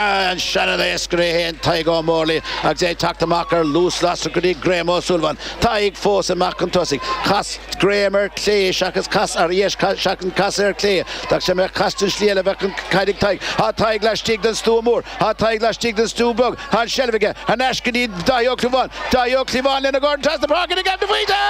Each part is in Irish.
An seanadhaoscaire é féin, Tadhg Ó Mórlaigh, agus é ag teacht amach ar luas lasrach go dtí Graham Ó Súilleabháin. Tadhg fós amach chun tosaigh. Chas Graham ar clé seachas cas ar dheis seachas casadh ar clé. Dá mbeadh cas den slí eile bheadh an caid ag Tadhg. Tá Tadhg laistigh den stua mór. Tá Tadhg laistigh den stua beag. Tá an seilbh aige. Thar n-ais go dtí Dáithí Ó Clúmháin. Dáithí Ó Clúmháin lena dhorn trasna páirce go Gavin de Faoite!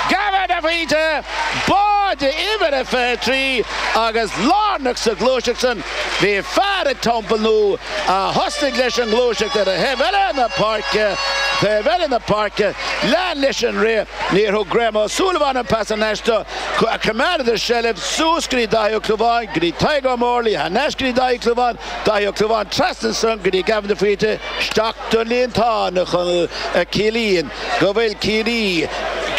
Gavin de Faoite! Báide uimhir a 23 agus lárnach sa ghluaiseacht san. Bhí fear ag Templenoe a thosnaigh leis an ngluaiseacht ar thaobh eile na páirce, taobh eile na páirce, lean leis an rith, níor thug Graham Ó Súilleabháin an pas thar n-ais dó, choimeádadar seilbh, suas go dtí Dáithí Ó Clúmháin, go dtí Tadhg Ó Mórlaigh, thar n-ais go dtí Dáithí Ó Clúmháin, Dáithí Ó Clúmháin trasna ansan go dtí Gavin de Faoite, isteach don líontán a Chonaill a chiallaíonn go bhfuil Ciarraí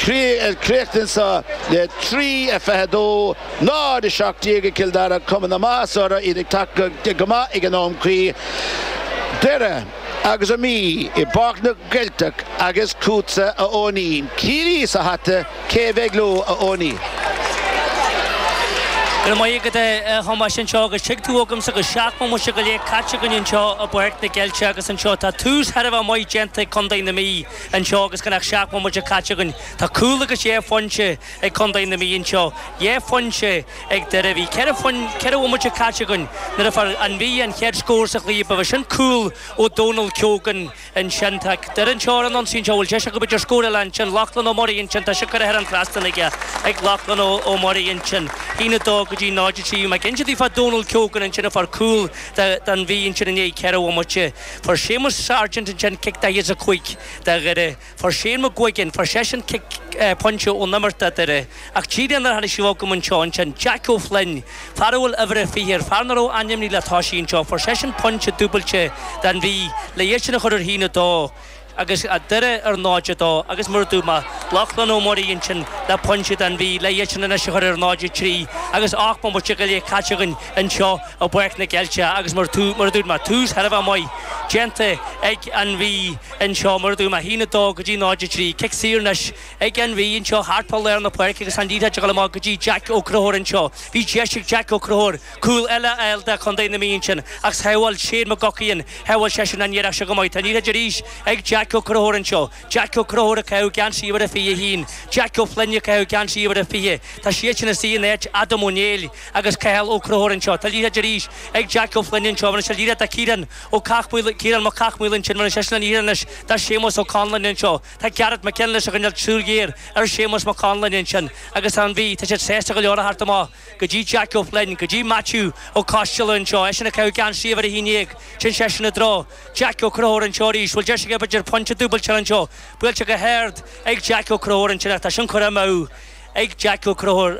críochnaithe anso le 3, 22. 0, 17 ag Cill Dara, cuma na maitheasa orthu, iad ag teacht go maith ag an am cuí. Doire agus an Mhí i bPáirc na gCeilteach agus chugatsa a Eoinín. Ciarraí sa hata, cé a bheidh leo a Eoinín? Go raibh maith agat a Thomáis anseo agus tig tú agamsa go 7 mbomaite go leith caite againn anseo i bPáirc na gCeilteach agus anseo tá tús thar a bheith maith déanta ag Contae na Mí anseo agus gan ach 7 mbomaite caite againn. Tá cúl agus dhá phointe ag Contae na Mí anseo. Dhá phointe ag Doire. Bhí 4 bhomaite caite againn nuair a fuair an Mhí an chéad scór sa chluiche. Ba sin cúl ó Dónal Keogan ansin. Tá Doire anseo ar an ionsaí anseo. Bhfuil deis acu b'fhéidir scór eile ansin. Lochlann Ó Muirí ansin. Tá sé curtha thar an trasnán aige ag Lochlann Ó Muirí ansin. 1, 2 go dtí 0, 3. Bhí mé ag inse daoibh fá Dónal Keogan ansin a fuair cúl don Mhí ansin i ndiaidh 4 bhomaite. Fuair Séamus Sargent ansin cic 45 do Dhoire. Fuair Shane McGuigan, fuair seisean cic pointe ón imirt do Dhoire, ach díreach nuair a tháinig sí chugam anseo ansin, Jack O'Flynn, fear a bhfuil uimhir a 20 air, fear nach raibh ainmnithe le toisí anseo, fuair seisean pointe dúbailte don Mhí le iad sin a chur ar 1-2 agus Doire ar 0-2 agus mar a dúirt mé, Lochlann Ó Muirí ansin le pointe don Mhí le iad sin anois a chur ar 0-3 agus 8 mbomaite go leith caite againn anseo i bPáirc na gCeilteach agus mar a dúirt mé, tús thar a bheith maith déanta ag an Mhí. anseo, mar a dúirt mé, 1, 2 go dtí 0, 3. Cic saor anois ag an Mhí anseo thart fá lár na páirce agus an liathróid ag dul amach go dtí Jack Ó Conchúir anseo. Bhí deis ag Jack Ó Conchúir cúl eile a fháil do Chontae na Mí ansin ach shábháil Shane McGuckian, shábháil seisean an iarracht seo go maith. Tá an liathróid arís ag Jack Ó Conchúir anseo. Jack Ó Conchúir ag caitheamh geansaí uimhir a 21. Jack Ó Floinn ag caitheamh geansaí uimhir a 20. Tá siad sin istigh in áit Adam Ó Néill agus Cathal Ó Conchúir anseo. Tá liathróid arís ag Jack Ó Floinn anseo. Bhronn sé liathróid do Ciarán Ó Cathmhaoil, Ciarán Mac Cathmhaoil ansin, bhronn seisean an liathróid anois do Séamus Ó Conluain anseo. Tá Garrett McGinley ag coinneáil súil ghéar ar Séamus Mac Conluain ansin agus tá an Mhí, tá siad sásta go leor a theacht amach go dtí Jack Ó Floinn, go dtí Matthew Ó Coisteala anseo, eisean ag caitheamh geansaí uimhir 11, téann seisean i dtreo Jack Ó Conchúir anseo arís. Bhfuil deis aige b'fhéidir pointe dúbailte anseo, buailte go hard ag Jack Ó Conchúir ansin ach tá sin curtha amú. ag Jack Ó Conchúir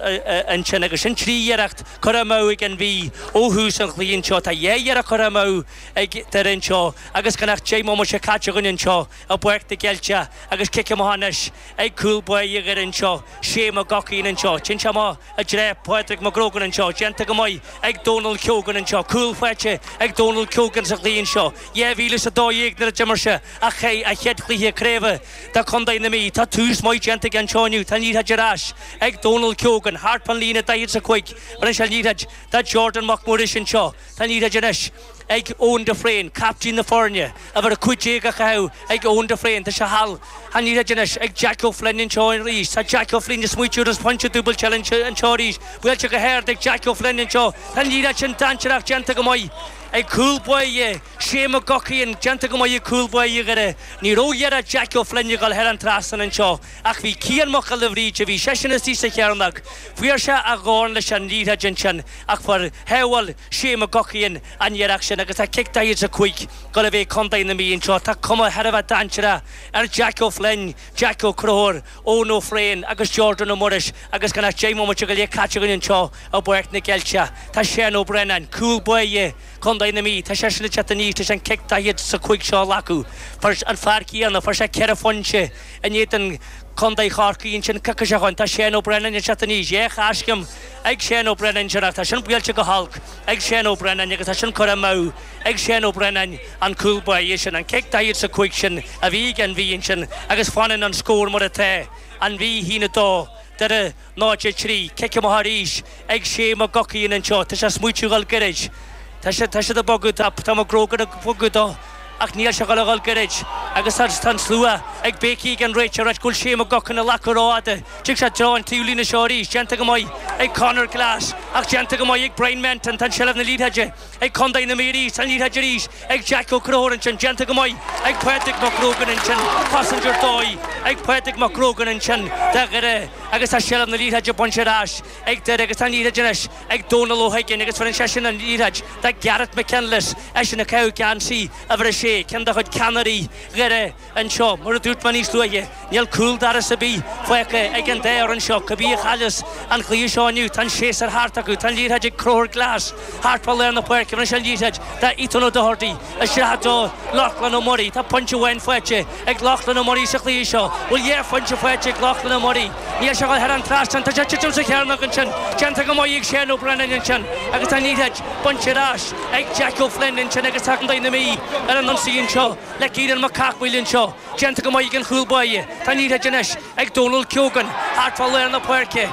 ansin agus sin 3 iarracht curtha amú ag an Mhí ó thús an chluiche anseo. Tá 2 iarracht curtha amú ag Doire anseo agus gan ach 10 mbomaite caite againn anseo i bPáirc na gCeilteach agus cic amach anois ag cúl báire Dhoire anseo, Shane McGuckian anseo. Téann sé amach i dtreo Pádraig McGrogan anseo, déanta go maith ag Dónal Keogan anseo. Cúl faighte ag Dónal Keogan sa chluiche anseo. 2012 nuair a d'imir sé a chéad chluiche craoibhe do Chontae na Mí. Tá tús maith déanta aige anseo inniu. Tá an liathróid ar ais ag Dónal Keogan thart fán líne 45. Bhronn sé an liathróid do Jordan Mac Muiris anseo. Tá an liathróid anois ag Eoin de Fréin, captaen na foirne, uimhir 15 á chaitheamh ag Eoin de Fréin. Tá sé thall. Tá an liathróid anois ag Jack O'Flynn anseo arís. Tá Jack O'Flynn ag smaoitiú ar phointe dúbailte eile anseo arís. Buailte go hard ag Jack O'Flynn anseo. Tá an liathróid sin dainséarach déanta go maith ag cúl báire. Shane McGuckian, déanta go maith ag cúl báire Dhoire. Ní raibh iarracht Jack O'Flynn ag dul thar an trasnán anseo ach bhí Cian Mac Giolla Bhríde, bhí seisean istigh sa chearnóg. Fuair sé a dhorn leis an liathróid ansin ach fuair shábháil Shane McGuckian an iarracht sin agus tá cic 45 ag dul a bheith ag Contae na Mí anseo. Tá cuma thar a bheith dainséarach ar Jack O'Flynn, Jack Ó Conchúir, Eoin Ó Floinn agus Jordan Ó Muiris agus gan ach 10 mbomaite go leith caite againn anseo i bPáirc na gCeilteach. Tá Seán Ó Braonáin, cúl báire, Contae na Mí, tá seisean ag teacht aníos leis an cic 45 seo a ghlacadh. Fuair an fear céanna, fuair sé 4 phointe in éadan Contae Chorcaí ansin coicís ó shoin. Tá Seán Ó Braonáin ag teacht aníos, dhá choiscéim ag Seán Ó Braonáin ansin ach tá sin buailte go holc ag Seán Ó Braonáin agus tá sin curtha amú ag Seán Ó Braonáin an cúl báire sin, an cic 45 sin a bhí ag an Mhí ansin agus fanann an scór mar atá, an Mhí 1, 2, Doire 0, 3. Cic amach arís ag Shane McGuckian anseo. Tá sé ag smaoitiú dhul gairid. Tá siad, tá siad ag bogadh, tá, tá McGrogan ag bogadh dó ach níl sé ag dul a dhul gairid agus tá, tá an slua ag béicígh ag an réiteoir ag ráit go bhfuil Shane McGuckin ag glacadh rófhada. Tig sé i dtreo an taobh líne seo arís, déanta go maith ag Conor Glass ach déanta go maith ag Brian Menton. Tá an seilbh na liathróide ag Contae na Mí arís, tá an liathróid arís ag Jack Ó Conchúir ansin, déanta go maith ag Pádraig McGrogan ansin, cosaint ar dóigh ag Pádraig McGrogan ansin do Dhoire agus tá seilbh na liathróide bainte ar ais ag Doire agus tá an liathróid anois ag Dónal Ó hUiginn agus bheireann seisean an liathróid do Garrett McKinless, eisean ag caitheamh geansaí uimhir a sé, ceann de chuid ceannairí Dhoire anseo. Mar a dúirt mé níos luaithe, níl cúl dorais ar bith fágtha ag an dá fhoireann seo. Cibé a chailleas an cluiche seo inniu, tá an séasúr thart acu. Tá an liathróid ag Conchúr Glass thart fá lár na páirce. Bheireann sé an liathróid do Ethan O'Doherty isteach do Lochlann Ó Muirí. Tá pointe amháin faighte ag Lochlann Ó Muirí sa chluiche seo. Bhfuil dhá phointe faighte ag Lochlann Ó Muirí? Níl sé ag dul thar an trasnán. Tá sé ag titim sa chearnóg ansin. Déanta go maith ag Shane O'Brennan ansin agus tá an liathróid bainte ar ais ag Jack O'Flynn ansin agus tá Contae na Mí ar an ionsaí anseo le Ciarán Mac Cathmhaoil anseo. Déanta go maith ag an chúl báire. Tá an liathróid anois ag Dónal Keogan thart fá lár na páirce.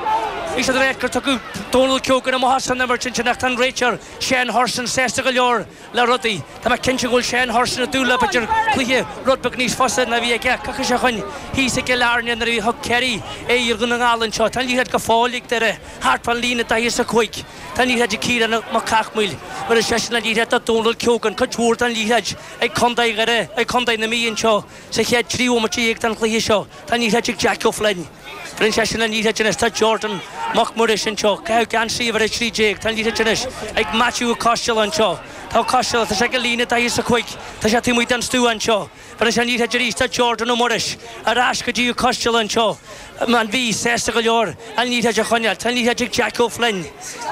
Bhí siad ag ráit gur tugadh Dónal Keogan amach as an imirt ansin ach tá an réiteoir Shane Hurson sásta go leor le rudaí. Tá mé cinnte go bhfuil Shane Hurson ag dúil le b'fhéidir cluiche rud beag níos fusa ná a bhí aige coicís ó shoin thíos i gCill Airne nuair a bhí thug Kerry aghaidh ar Dhún na nGall anseo. Tá an liathróid go fóill ag Doire thart fán líne 45. Tá an liathróid ag Ciarán Mac Cathmhaoil. Bheireann seisean an liathróid do Dónal Keogan. Cuid mhór den liathróid ag Contae Dhoire, ag Contae na Mí anseo sa chéad 13 bhomaite den chluiche seo. Tá an liathróid ag Jack O'Flynn. Bheireann seisean an liathróid anois do Jordan Mac Muiris anseo. Caitheamh geansaí uimhir 13. Tá an liathróid anois ag Matthew Ó Coisteala anseo. Tá Ó Coisteala, tá sé ag an líne 45. Tá sé taobh amuigh den stua anseo. Bheireann sé an liathróid arís do Jordan Ó Muiris. Ar ais go dtí Ó Coisteala anseo. An Mhí sásta go leor an liathróid a choinneáil. Tá an liathróid ag Jack O'Flynn.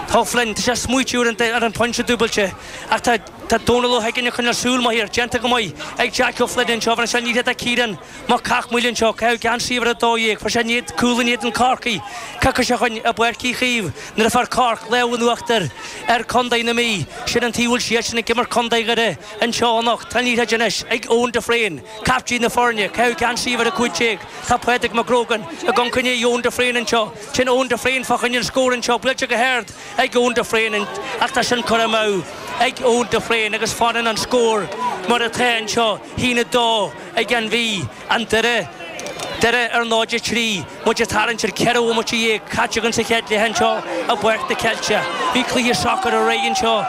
Tá O'Flynn, tá sé ag smaoitiú ar an phointe dúbailte ach tá Tá Dónal Ó hUiginn ag coinneáil súil maith air. Déanta go maith ag Jack O'Flynn anseo. Bheireann sé an liathróid do Ciarán Mac Cathmhaoil anseo, caitheamh geansaí uimhir 12, fuair sé in cúl in éadan Corcaigh, coicís ó shoin i bPáirc Uí Chaoimh nuair a fuair Cork lámh in uachtar ar Contae na Mí. Sin an taobh a bhfuil siadsan ag imirt Contae Dhoire anseo anocht. Tá an liathróid anois ag Eoin de Fréin, caiptín na foirne, caitheamh geansaí uimhir 15. Tá Pádraig McGrogan ag amharc i ndiaidh Eoin de Fréin anseo. Sin Eoin de Fréin fá choinne an scór anseo, buailte go hard ag Eoin de Fréin ach tá sin curtha amú ag Eoin de Fréin agus fanann an scór mar atá anseo, 1-2. Ag an Mhí, an Doire, Doire ar 0-3, muid ag tarraingt ar 14 bhomaite caite againn sa chéad leath anseo i bPáirc na Ceilte. Bhí cluiche socair aréir anseo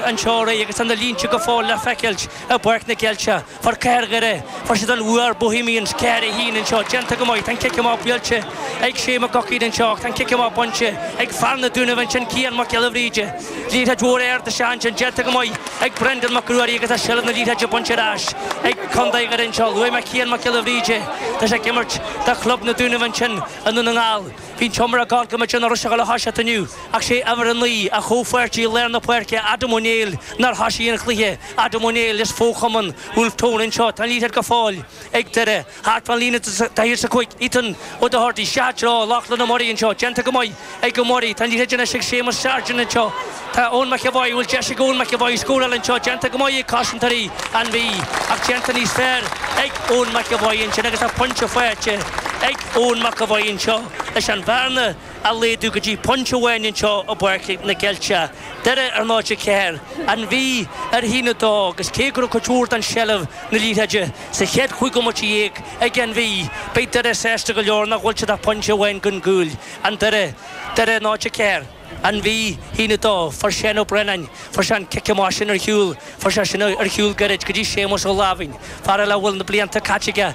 anseo aréir agus tá na línte go fóill le feiceáilt i bPáirc na Ceilte. Fuair Cathair Dhoire, fuair siad an bhua ar Bohemians 4-1 anseo. Déanta go maith. Tá an cic amach buailte ag Shane McGuckin anseo ach tá an cic amach bainte ag fear na Dúnaibh ansin, Cian Mac Giolla Bhríde. Liathróid mhór ard isteach ansin, déanta go maith ag Brendan Mac Ruairí agus tá seilbh na liathróide bainte ar ais ag Contae Dhoire anseo. Luaigh mé Cian Mac Giolla Bhríde, tá sé ag imirt do chlub na Dúnaibh ansin i nDún na nGall. Bhí an t-iomrá ag gabháil go mb'fhéidir nach raibh sé ag dul a thoiseacht inniu ach sé uimhir 9, a chomhpháirtí i lár na páirce, Adam Ó Néill, nár thoisigh an chluiche. Adam Ó Néill as fo-chumann Wolfe Tone anseo. Tá an liathróid go fóill ag Doire. Thart fán líne 45, Ethan O'Doherty, isteach i dtreo Lochlann Ó Muirí anseo, déanta go maith ag Ó Muirí. Tá an liathróid anois ag Séamus Sargent anseo. Tá Eoin McEvoy, bhfuil deis ag Eoin McEvoy scóráil anseo, déanta go maith ag cosantóirí an Mhí, ach déanta níos fearr ag Eoin McEvoy ansin agus tá pointe faighte ag Eoin McEvoy anseo leis an bhearna a laghdú go dtí pointe amháin anseo i bPáirc na Ceilte. Doire ar 0-4, An Mhí ar 1-2 agus cé go raibh cuid mhór den seilbh na liathróide sa chéad chúig bhomaite dhéag ag an Mhí, beidh Doire sásta go leor nach bhfuil siad ach pointe amháin den gcúl. An Doire, Doire 0-4, An Mhí, 1-2. Fuair Shane Ó Braonáin, fuair sé an cic amach sin ar shiúl, fuair sé sin ar shiúl gairid go dtí Séamus Ó Láimhín, fear eile a bhfuil na blianta caite aige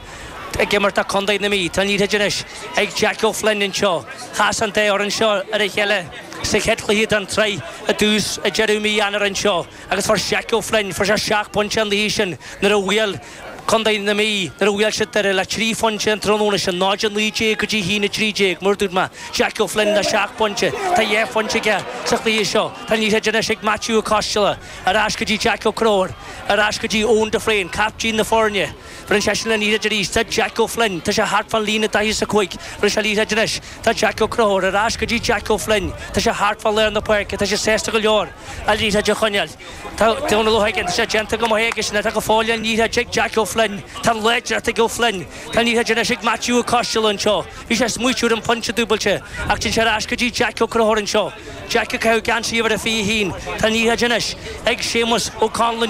ag imirt do Chontae na Mí. Tá an liathróid anois ag Jack O'Flynn anseo. Chas an dá fhoireann seo ar a chéile sa chéad chluiche den tsraith i dtús i deireadh mí Eanáir anseo agus fuair Jack O'Flynn, fuair sé seacht bpointe an oíche sin nuair a bhuail Contae na Mí, nuair a bhuail siad Doire le trí phointe an tráthnóna sin, 0-19 go dtí 1-13, mar a dúirt mé, Jack O'Flynn le seacht bpointe, tá dhá phointe aige sa chluiche seo. Tá an liathróid anois ag Matthew Ó Coisteala, ar ais go dtí Jack Ó Conchúir, ar ais go dtí Eoin de Fréin, caiptín na foirne. Bheireann seisean an liathróid arís do Jack O'Flynn. Tá sé thart fán líne 45. Bheireann sé an liathróid anois do Jack Ó Conchúir. Ar ais go dtí Jack O'Flynn. Tá sé thart fá lár na páirce. Tá sé sásta go leor an liathróid a choinneáil. Tá Dónal Ó hUiginn. Tá sé déanta go maith aigesean. Tá go fóill an liathróid ag Jack O'Flynn. Flynn. Tá an láidreacht ag Ó Floinn. Tá an liathróid anois ag Maitiú Ó Coistealbha anseo. Bhí sé ag smaoitiú ar an phointe dúbailte ach téann sé ar ais go dtí Jaic Ó Conchúir anseo. Jaic ag caitheamh geansaí uimhir a 21. Tá an liathróid anois ag Séamus Ó Conluain.